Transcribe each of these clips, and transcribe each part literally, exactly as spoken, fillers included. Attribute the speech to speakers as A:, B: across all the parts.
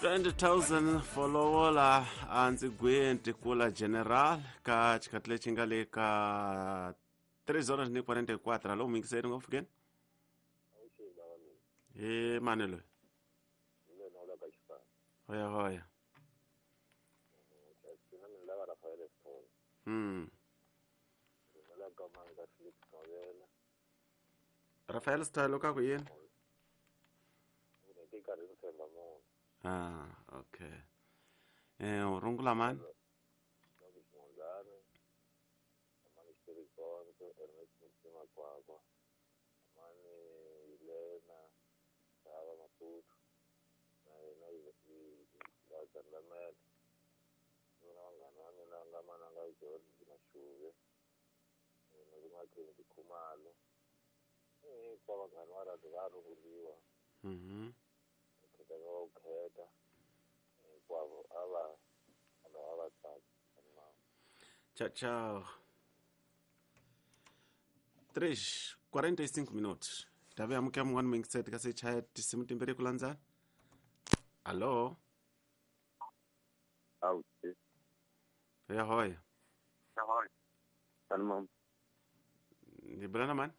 A: twenty thousand follower a ndzi gwenti kula general ka xikhathi lexi nga le ka três horas ni quarenta e quatro. Alô, muyingiseri ngopfu keni? Hi mani loyi? Hoya hoya. Mm. Rafael Style ka ku yini? Ah, okay. Eh, u rungula mani? Mhm. Tchau, tchau. três, quarenta e cinco minutos. Tabe amuke mun'wana muyingiseri kasi chaya tinsimu timbirhi ku landzana. Allo?
B: Awuthi.
A: Ya hoya.
B: Sanibona.
A: Ni bula na mani?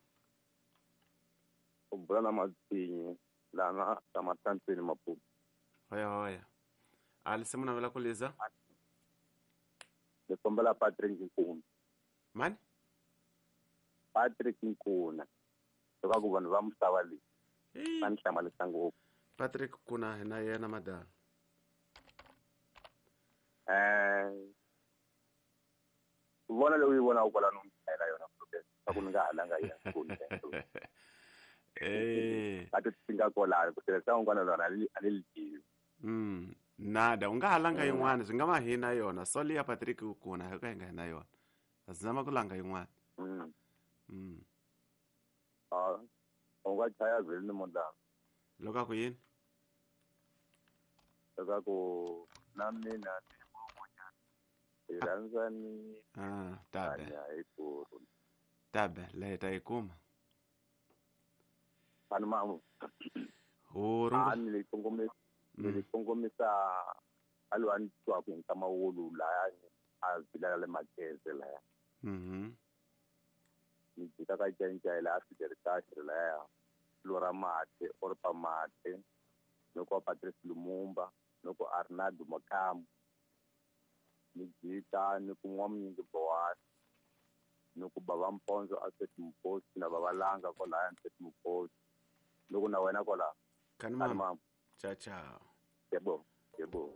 B: U bula na Matsinyi lana ka Matantsweni Maputo.
A: Hoya hoya. A lisimu navela ku liza?
B: Ni kombela Patrick Nkuna.
A: Mani?
B: Patrick Nkuna. Leswaku vanhu va misava leyi va ni hlamarisa ngopfu.
A: Patrick Nkuna hi na yena madala.
B: Eh vona leyi u yi vonaka kwalano mi chayela yona swa ku ni nga halanga yi ya
A: Eh.
B: A ti nga kwalano ku tirhisa un'wana lona a ni a ni li tivi.
A: Mm. Nada, u nga ha langa yin'wana swi nga va hi na yona. So liya Patrick Nkuna hi ka hi nga hi na yona. A zama ku langa yin'wana.
B: Mm.
A: Mm.
B: Ah, u nga chaya vheli ni mondlana.
A: Loko a ku yini?
B: Leswaku na mina ni mun'wanyana hi rhandzani
A: Ah, tabe.
B: hanya hi ku
A: Tabe, leyi ta yi kuma.
B: Vanhu ma
A: U
B: a
A: rungula.
B: ni le kongomisa ni le
A: Mm.
B: kongomisa a loyi a ni twaku hi nkama wolu laya a vilela le Mageze laya.
A: Mhm.
B: Ni jika ka Nchenchele a Fidel laya Lora Mate Orpa Mate loko Patrice Lumumba loko Arnaldo Makamu ni jika ni ku N'wamunyingi Bowani ni ku Bava Mpondzo a Seth Muposi na Bava Langa kwalaya Seth Muposi loko na wena kwala
A: Kani
B: Kani
A: mama.
B: mama.
A: Tchau, tchau.
B: Yebo, yebo.